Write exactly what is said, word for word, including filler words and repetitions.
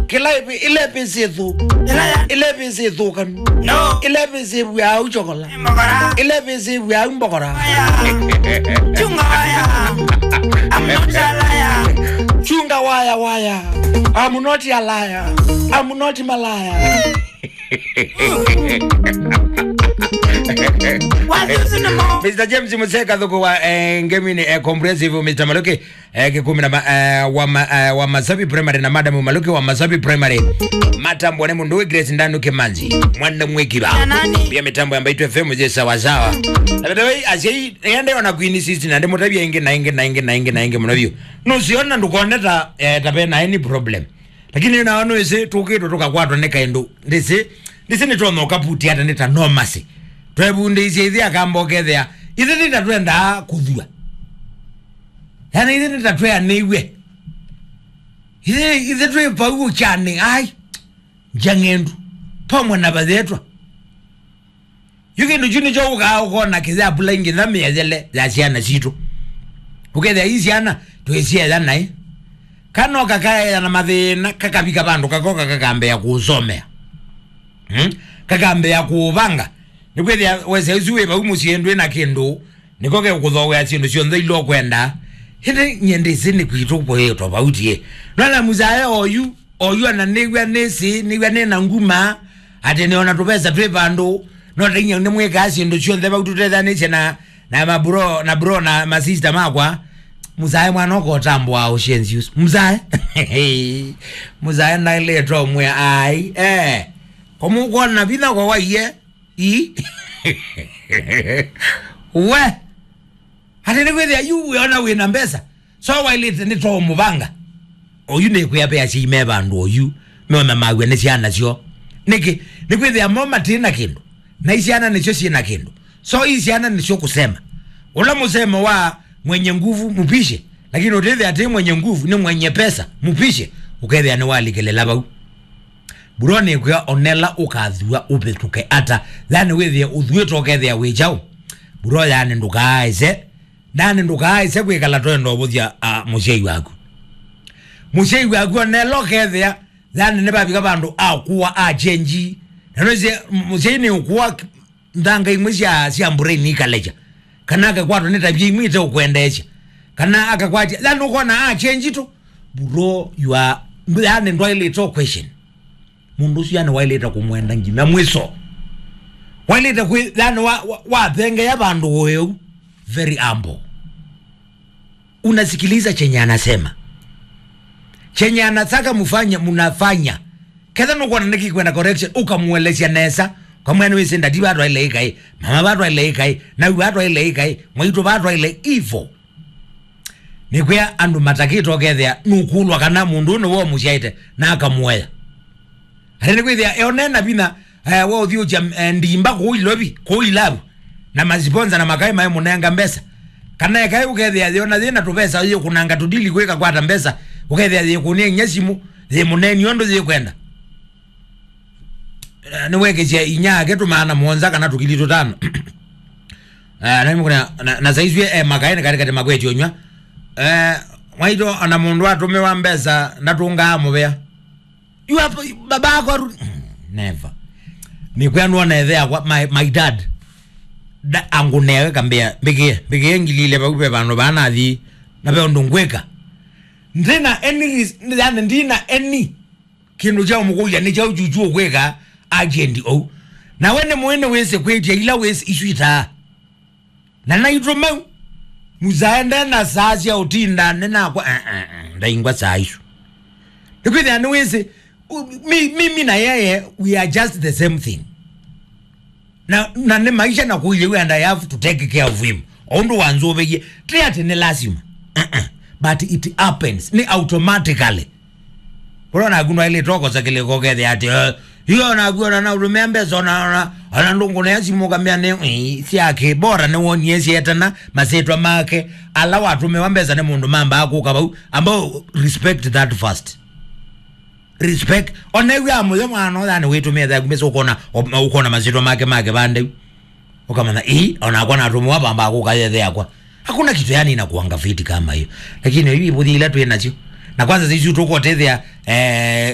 Kĩla ĩvĩ, ĩla ĩvĩ syĩ thũ. Ĩla ya- Ĩla ĩvĩ syĩ thũkanu. No. Ĩla ĩvĩ syĩ vw'au chokola. Mbogora. Ĩla ĩvĩ syĩ vw'au mbogora. Waya. Chunga waya. I'm not a liar. Chunga waya, waya. I'm not a liar. I'm not malaya. Mister James Museka Thuku wa, eh, Ngemini, eh, Comprehensive, Mister Maluki, eh, Kikumi na ma-, eh, wa ma-, eh, wa Masabi Primary na Madam Maluki wa Masabi Primary. Matambwa nĩ mũndũ wĩ Grace Ndanu Kimanzi, mwana mwĩkiva. Pia mitambo ya Mbaitu F M je sawa sawa. Na by the way, asyai, ende ona Queen Sister na ndimutavia ingi na ingi na ingi na ingi na ingi mũno vyũ. Nũsiona ndũkoneta, eh, ta vena any problem. Lakini nao nũĩsĩ tũkĩtwe tũkakwatwa nĩ kaĩndũ. Ndĩsĩ, ndĩsĩ nĩtwona ũkaputi ata nĩ ta nomasi. Twevundĩisye ithe akamba ũkethĩa. Ithe nĩ ta twendaa kũthua. Yaani ithe nĩ ta tweanĩiw'e. Ithe, ithe twĩ vau ũkyanĩ. Ai, njang'endu. Pamwe na vathetwa. Yu kĩndũ kyu nĩkyo ũkaa ũkona kĩyapula ingĩ tha mĩeyele ya syana sitũ. Ũkethĩa ii syana twĩsyeya naĩ. Kana ũkakaeya na mathĩna, kakavika vandũ kakoka kakambĩa kũũsomea. Hmm? Kakambĩa kũũvanga. Nĩkwĩthĩa wesa ũsu wĩ vau mũsyĩ ndwĩ na kĩndũ, nĩko gekũthowea syĩndũ syonthe ila ũkwenda. Ĩndĩ nyie ndĩsĩ nĩ kwitũ kwĩ tofauti ĩ. Nona mũsae oyu, oyu ona nĩw'a nĩsĩ, nĩw'a nĩ na nguma, atĩ nĩ ona tũvesa twĩ vandũ, no tainya nĩmwĩkaa syĩndũ syonthe vau tũtethanĩsye na, na mabro, na bro na masista makwa. Mũsae mwana ũkotambũa ũsyenzi ũsu. Mũsae. Mũsae naĩlĩtwe ũmwe ai. Eh. Komũkwona vinya kwa waiye. Ii. We. Atĩ nĩkwĩthĩa yu wĩona wĩna mbesa. So wailĩte nĩ to mũvanga. Oyu nĩkwĩa ve asyai me vandũ oyu. Meona maw'a nĩ syana syo. Nĩkĩ? Nĩkwĩthĩa mo matĩ na kĩndũ. Na isyana nĩsyo syĩ na kĩndũ. So isyana nĩsyo kũsema. Ũla mũsemo wa mwenye nguvu mpishe. Lakini ũtĩthĩa atĩ mwenye nguvu nĩ mwenye pesa mpishe. Ũkethĩa nĩwalikĩlĩla vau. Bro nĩkwĩa onela ũkathua ũvĩtũke ata. Yani wĩthĩe ũthuĩte ũkethĩa wĩ kyaũ. Bro yani ndũkaaĩse. Yani ndũkaaĩse kwĩkala twenda ũvũthya, ah, mũsyai waku. Mũsyai waku onela ũkethĩa. Yani nĩvavika vandũ akũa achenji. Na nĩsĩ mũsyai nĩ ũkũa nthanga imwe sya, sya mbũreni ikalekya. Kana akakwatwa nĩ tavia imwe iteũkwendeesya. Kana akakwatya, yani ũkona achenji tu. Bro, you are, yani ndwaĩlĩte o question. Mũndũ ũsu yani waĩlĩte kũmwenda nginya mwĩso. Waĩlĩte kwĩ, yani wa, wa, wathengeea vandũ ũeu. Very humble. Unasikiliza chenye anasema. Chenye anataka mufanye, munafanya. Ketha nũkwona nĩkĩkwenda correction, ũkamũelesya nesa. Ũkamwĩa nĩwĩsĩ ndati vatwaĩle ĩkaĩ, mama vatwaĩle ĩkaĩ, nawi vatwaĩle ĩkaĩ, mwaitũ vatwaĩle ivo. Nĩkwĩa andũ matakĩte ũkethĩa nũkũlwa kana mũndũ ũyũ nĩwe ũmũsyaĩte na akamũea. Atĩ nĩkwĩthĩa eonena vinya, eh, wa ũthiũkya, eh, ndimba kũu ilovi, kũu ilavu, na masiponsa na makaĩ maĩ mũnenga mbesa. Kana ekaĩ ũkethĩa yĩona yĩna tũvesa yĩkũnanga tũdili kwĩka kwata mbesa, ũkethĩa yĩkũnĩa inya simũ, yĩmũneni ũndũ yĩkwenda. Eh, nĩwekĩsya inya ake tũmaana mũonza kana tũkili tũtano. Eh, na, na, na saisue, eh, makaĩ nĩ katĩkatĩ makwetye ũnyw'a. Eh, mwaitũ ona mũndũ atũmĩwa mbesa ndatũngaa mũvea. You have, baba ako aru-, never. Nĩkwĩa nuona ethe yakwa, my, my dad. Da, angu newe kambĩa, mbĩkĩe, mbĩkĩe ngili ile vau ve vandũ vaa nathi, na ve ũndũ ngwĩka. Ndina any ris-, yani ndina any kĩndũ kya ũmũkũlya nĩ kyaũ chuchu ũkwĩka agent ou. Na we nĩ mũĩ nĩ wĩsĩ kwĩtya ila wĩsĩ isu itaa. Na naitũ mau, mũsae ndena saa sya ũtinda, nĩ nakwa, eh, eh, eh, ndaingwa saa isu. Nĩkwĩthĩa nĩwĩsĩ, u-, mi-, mimi na yeye, we are just the same thing. Na, na nĩ maisha na kũilyĩ, and I have to take care of him. O ũndũ wanzũvĩie, ti atĩ nĩ lasima. Uh-uh. But it happens. Nĩ automatically. Ũla naku ndwaĩlĩte ũkosa kĩlĩko ũkethĩa atĩ, eh, iyo naku ona naũtũmĩa mbesa ona, ona, ona ndũngũnĩa simũ ũkamĩa nĩ, ĩ, syake. Bora nĩwonie syetana masĩtwa make. Ala watũmĩwa mbesa nĩ mũndũ mambaa kũka vau. Ambao respect that first. Respect. Ona ĩw'a mũyo mwana ũyani wĩtũmĩa thaku mbesa ũkona, ũkona masĩtwa make make vande. Ũkamanya, ĩ, onakwa natũmĩwa vambaa kũka yethe yakwa. Hakuna kitu yani inakuanga fiti kama hiyo. Lakini hivi ivũthi ila twĩ nacio. Na kwanza sisi tũkotethea, eh,